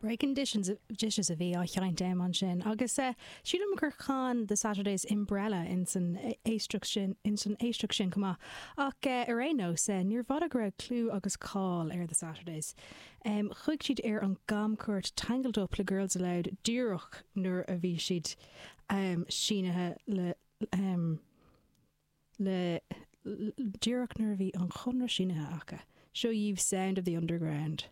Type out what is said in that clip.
Breaking Dishes Dishes a bhí á sheinnt agam ansin agus sílim gur chan The Saturdays Umbrella ins an éisteacht sin ins an éisteacht sin chomh maith. Ach ar aon nós, níorbh fhada go raibh clú agus cáil ar The Saturdays. Chuaigh siad ar an gcamchuairt Tangled Up le Girls Aloud díreach nuair a bhí siad sínithe le le díreach nuair a bhí an chonradh sínithe acu. Seo dhaoibh Sound of the Underground.